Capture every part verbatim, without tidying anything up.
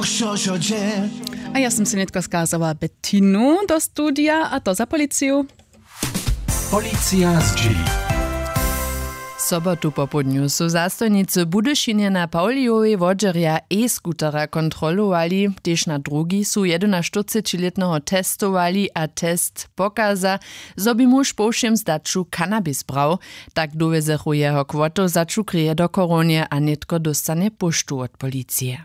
Wšo wšo dźe. A ja sym se nětko skazała Bettinu do studija, a to za policiju. Policija zdźěli. Sobotu popołdnju su zastojnicy w Budyšinje na Pawlijowej wodźerja e-scootera kontrolowali. Tež na drugi su jedynaštyrcećilětneho testowali a test pokaza, zo bě muž po wšěm zdaću cannabis brał. Tak dowjezechu jeho kwotu za čukreje do Chorownje a nětko dóstanje póštu wot policije.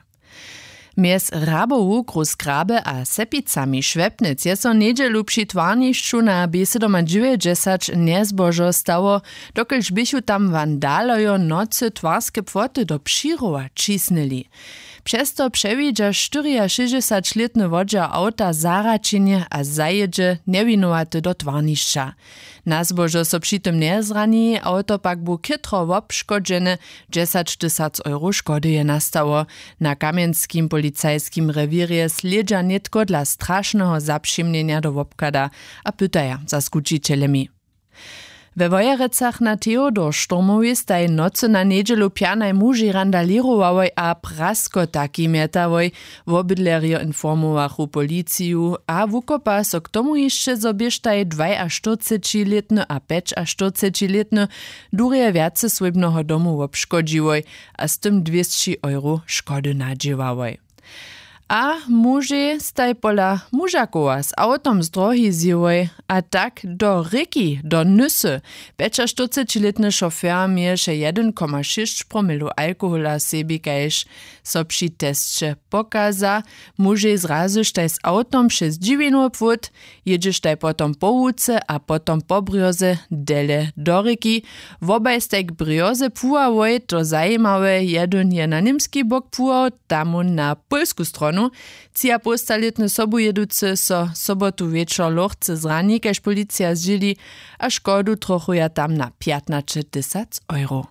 Mjez Hrabowu, Gruzgrabe a Sepicami Šłepnec je so njedźelu při twarnišću na bě sydomadźewjećdźesać njezbožo stało, dokelž běchu tam wandalojo w nocy twarske płoty do přirowa ćisnyli. Přez to přewidźa štyriašěsćdźesaćlětny wodźer awta zahraćenje a zajědźe njewinowaty do twarnišća. Na zbožo so při tym njezrani, awto pak bu chětro wobškodźene. Dźesaćtysac euro škody je nastało. Na kamjenskim policajskim rewěrje slědźa nětko dla strašneho zapřimnjenja do wobchada a pytaja za skućićeljemi. We Wojerecach na Theodor Stormowej staj nocy na njedźelu pjanaj mužej randalěrowałoj a praskotaki mjetałoj. Wobydlerjo informowachu policiju a wukopa so k tomu hišće, zo běštaj dwajaštyrcećilětny a pjećaštyrcećilětny durje wjaceswójbneho domu wobškodźiłoj a z tym dwěsći euro škody nadźěłałoj. A mužej staj pola mužakowa z awtom z drohi zjěłoj a tak do rěki, do Nysy. Pjećaštyrcećilětny šofer měješe jedyn koma šěsć promilow alkohola w sebi, kaž so při tesće pokaza. Mužej zrazyštaj z awtom přez dźiwinowy płót, jědźeštaj potom po łuce a potom po brjoze dele do rěki. Wobaj staj k brjoze pływałoj, to zajimawe, jedyn je na němski bok pływał, tam na pólsku stronu. Třiapołstalětny sobujěducy so sobotu wječor lochce zrani, kaž policija zdźěli, a škodu trochuja tam na pjatnaćetysac euro.